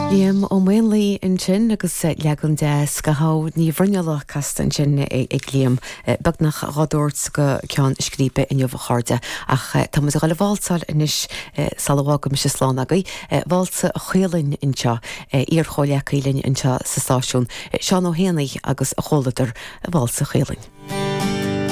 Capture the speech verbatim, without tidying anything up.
Liam Ó Maonlaí ansin agus leagan deas de Shamhail Ní Bhruinnealla casta ansin ag Liam beagnach dhá dtabhairt go ceann scríbe inniu a chairde ach tá muid ag dul a válsáil anois sula bhfágaimis slán agaibh Válsa Chaolainn anseo iar-chomhghleacaí linn anseo sa stáisiún Seán Ó hÉanaí agus a chomhluadar Válsa Chaolainn.